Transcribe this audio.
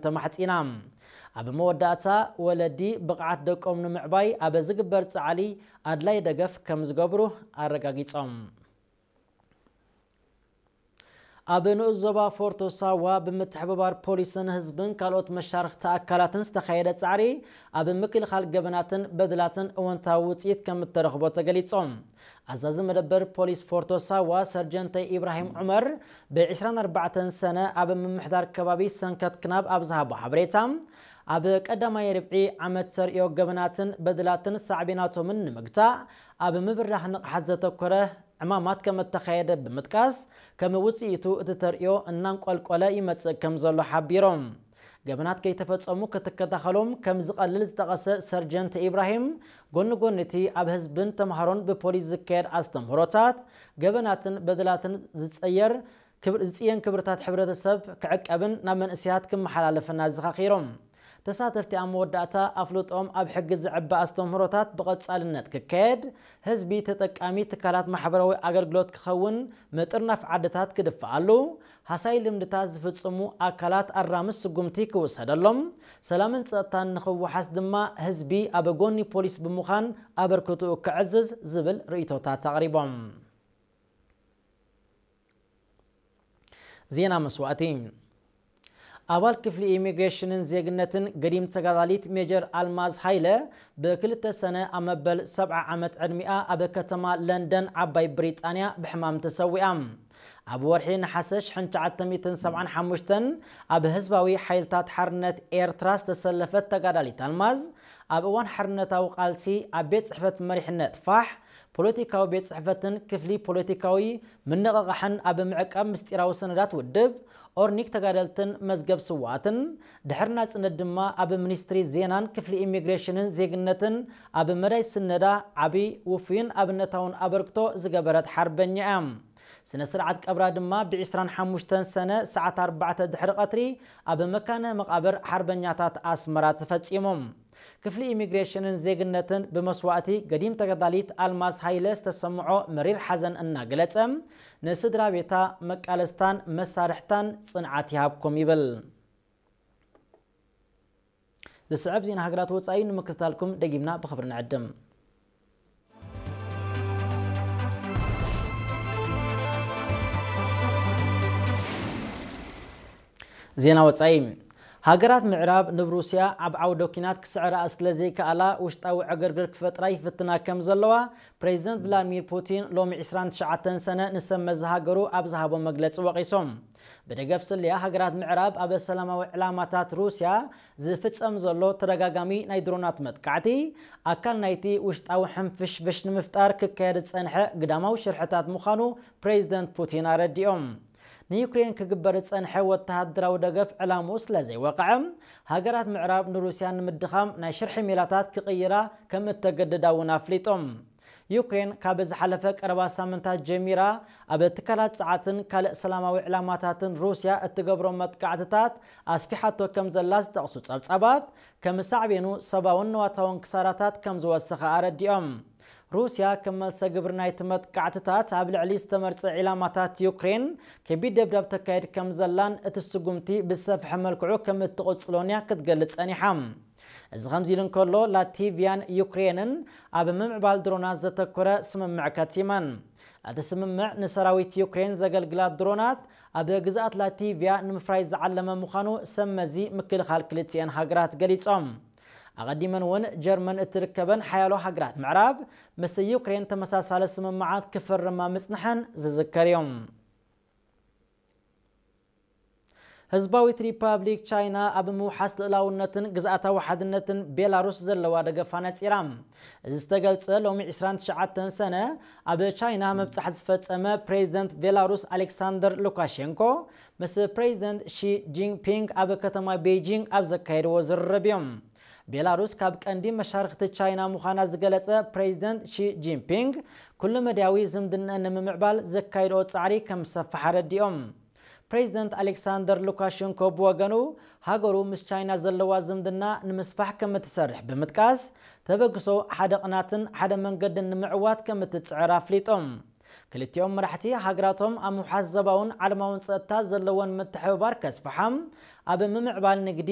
ተማሕጺና። ኣብ መወዳእታ፣ ወለዲ ብቕዓት ደቆም ንምዕባይ ኣብ ዝግበር ጻዕሊ ኣድላይ ደገፍ ከም ዝገብሩ ኣረጋጊጾም። ኣብ ንኡስ ዞባ ፎርቶ ሳዋ ብምትሕብባር ፖሊስን ህዝብን ካልኦት መሻርኽቲ ኣካላትን ዝተኻየደ ጻዕሪ ኣብ ምክልኻል ገበናትን በደላትን እወንታዊ ውጽኢት ከም እተረኽቦ ተገሊጾም። ኣዛዚ መደበር ፖሊስ ፎርቶ ሳዋ ሰርጀንተ ኢብራሂም ዑመር ብ ዕስራን ኣርባዕተን ሰነ ኣብ ምምሕዳር ከባቢ ሰንከት ክናብ ኣብ ዝሃቦ ሓበሬታ፣ ኣብ ቀዳማይ ርብዒ ዓመት ተርእዮ ገበናትን በደላትን ሳዕቤናቶምን ንምግታእ ኣብ ምብራህ ንቕሓት ዘተኮረ ዕማማት ከም እተኻየደ ብምጥቃስ፣ ከም ውጽኢቱ እቲ ተርእዮ እናንቆልቆለ ይመጽእ ከም ዘሎ ሓቢሮም። ገበናት ከይተፈጸሙ ክትከታኸሎም ከም ዝቐልል ዝጠቐሰ ሰርጀንት ኢብራሂም፣ ጎኒ ጎኒ እቲ ኣብ ህዝብን ተምሃሮን ብፖሊስ ዝካየድ ኣስተምህሮታት፣ ገበናትን በደላትን ዝጸየር ክብር-፣ ዝጽየን ክብርታት ሕብረተሰብ ክዕቀብን ናብ መንእሰያት ክመሓላለፍን ኣዘኻኺሮም። ተሳተፍቲ ኣብ መወዳእታ ኣፍልጦም ኣብ ሕጊ ዝዕበ ኣስተምህሮታት ብቐጻልነት ክካየድ፣ ህዝቢ ተጠቃሚ ትካላት ማሕበራዊ ኣገልግሎት ክኸውን፣ ምጥርናፍ ዓድታት ክድፍኣሉ፣ ሃሳይ ልምድታት ዝፍጽሙ ኣካላት ኣራሚ ስጉምቲ ክውሰደሎም፣ ሰላምን ጸጥታን ንኽወሓስ ድማ ህዝቢ ኣብ ጎኒ ፖሊስ ብምዃን ኣበርክትኡ ከዕዝዝ ዝብል ርእይቶታት ኣቕሪቦም። ዜና መስዋእቲ። ኣባል ክፍሊ ኢሚግሬሽንን ዜግነትን ገዲም ተጋዳሊት ሜጀር ኣልማዝ ሃይለ ብክልተ ሰነ ኣብ መበል ሰብዓ ዓመት ዕድሚኣ ኣብ ከተማ ለንደን ዓባይ ብሪጣንያ ብሕማም ተሰዊኣ። ኣብ ወርሒ ነሓሰ ሽሕን ትሽዓተ ሚእትን ሰብዓን ሓሙሽተን ኣብ ህዝባዊ ሓይልታት ሓርነት ኤርትራ ዝተሰለፈት ተጋዳሊት ኣልማዝ፣ ኣብ እዋን ሓርነታዊ ቃልሲ ኣብ ቤት ጽሕፈት መሪሕነት ፋሕ፣ ፖለቲካዊ ቤት ጽሕፈትን ክፍሊ ፖለቲካዊ ምንቕቓሕን ኣብ ምዕቃብ ምስጢራዊ ሰነዳት ውድብ፣ ኦርኒክ ተጋደልትን መዝገብ ስውኣትን፣ ድሕሪ ናጽነት ድማ ኣብ ሚኒስትሪ ዜናን ክፍሊ ኢሚግሬሽንን ዜግነትን ኣብ መዳይ ስነዳ ዓቢ፣ ውፉይን ኣብነታውን ኣበርክቶ ዝገበረት ሓርበኛ እያ። ስነ ስርዓት ቀብራ ድማ ብ ዕስራን ሓሙሽተን ሰነ ሰዓት ኣርባዕተ ድሕሪ ቀትሪ ኣብ መካነ መቓብር ሓርበኛታት ኣስመራ ተፈጺሙ። ክፍሊ ኢሚግሬሽንን ዜግነትን ብመስዋእቲ ገዲም ተጋዳሊት ኣልማዝ ሃይለ ዝተሰምዖ መሪር ሓዘን እናገለጸ፣ ንስድራ ቤታ፣ መቃለስታን መሳርሕታን ጽንዓት ይሃብኩም ይብል። ዝስዕብ ዜና ሃገራት ወጻኢ ንምክትታልኩም ደጊምና ብኽብሪ ንዕድም። ዜና ወጻኢ። ሃገራት ምዕራብ ንብ ሩስያ ኣብ ዓውደ ኲናት ክስዕራኣ ስለ ዘይከኣላ ውሽጣዊ ዕግርግር ክፈጥራ ይፍትና ከም ዘለዋ ፕሬዚደንት ቭላድሚር ፑቲን ሎሚ ዕስራን ትሽዓተን ሰነ ንሰብ መዚ ሃገሩ ኣብ ዝሃቦ መግለጺ ወቒሶም። ብደገፍ ስለያ ሃገራት ምዕራብ ኣብ ሰላማዊ ዕላማታት ሩስያ ዝፍጸም ዘሎ ተደጋጋሚ ናይ ድሮናት መጥቃዕቲ ኣካል ናይቲ ውሽጣዊ ሕንፍሽፍሽ ንምፍጣር ክካየድ ዝጸንሐ ግዳማዊ ሽርሕታት ምዃኑ ፕሬዚደንት ፑቲን ኣረዲኦም። ንዩክሬን ክግበር ዝጸንሐ ወተሃደራዊ ደገፍ ዕላምኡ ስለ ዘይወቕዐ፣ ሃገራት ምዕራብ ንሩስያ ንምድኻም ናይ ሽርሒ ሜላታት ክቕይራ ከም እተገድዳ እውን ኣፍሊጦም። ዩክሬን ካብ ዝሓለፈ ቀረባ ሳምንታት ጀሚራ ኣብ ትካላት ጸዓትን ካልእ ሰላማዊ ዕላማታትን ሩስያ እትገብሮ መጥቃዕትታት ኣስፊሓቶ ከም ዘላ ዝጠቕሱ ጸብጻባት፣ ከም ሳዕቤኑ ሰብኣውን ንዋታውን ክሳራታት ከም ዝወሰኸ ኣረዲኦም። ሩስያ ከም መልሰ ግብሪ ናይቲ መጥቃዕትታት ኣብ ልዕሊ ዝተመርጸ ዒላማታት ዩክሬን ከቢድ ደብዳብ ተካይድ ከም ዘላን እቲ ስጉምቲ ብዝሰፍሐ መልክዑ ከም እትቕጽሎን እያ ክትገልጽ ጸኒሓ። እዚ ከምዚ ኢሉ እንከሎ፣ ላቲቪያን ዩክሬንን ኣብ ምምዕባል ድሮናት ዘተኮረ ስምምዕ ከቲመን። እቲ ስምምዕ ንሰራዊት ዩክሬን ዘገልግላ ድሮናት ኣብ ግዝኣት ላቲቪያ ንምፍራይ ዝዓለመ ምዃኑ ሰብ መዚ ምክልኻል ክልቲኤን ሃገራት ገሊጾም። ኣቐዲመን እውን ጀርመን እትርከበን ሓያሎ ሃገራት ምዕራብ ምስ ዩክሬን ተመሳሳሊ ስምምዓት ክፍርማ ምጽንሐን ዝዝከር እዩ። ህዝባዊት ሪፓብሊክ ቻይና ኣብ ምውሓስ ልእላውነትን ግዝኣታዊ ሓድነትን ቤላሩስ ዘለዋ ደገፍ ኣነጺራ። እዚ ዝተገልጸ ሎሚ ዕስራን ትሽዓተን ሰነ ኣብ ቻይና ምብጻሕ ዝፈጸመ ፕሬዚደንት ቤላሩስ ኣሌክሳንደር ሉካሼንኮ ምስ ፕሬዚደንት ሺ ጂንፒንግ ኣብ ከተማ ቤይጂንግ ኣብ ዘካየድዎ ዝርርብ እዮም። ቤላሩስ ካብ ቀንዲ መሻርኽቲ ቻይና ምዃና ዝገለጸ ፕሬዚደንት ሺ ጂንፒንግ፣ ኩሉ መዳያዊ ዝምድና ንምምዕባል ዘካየድኦ ጻዕሪ ከም ዝሰፍሕ ኣረዲኦም። ፕሬዚደንት ኣሌክሳንደር ሉካሸንኮ ብወገኑ፣ ሃገሩ ምስ ቻይና ዘለዋ ዝምድና ንምስፋሕ ከም እትሰርሕ ብምጥቃስ፣ ተበግሶ ሓደ ቅናትን ሓደ መንገድን ንምዕዋት ከም እትጽዕር ኣፍሊጦም። ክልቲኦም መራሕቲ ሃገራቶም ኣብ ምውሓስ ዞባውን ዓለማውን ጸጥታ ዘለወን ምትሕብባር ከስፍሓ፣ ኣብ ምምዕባል ንግዲ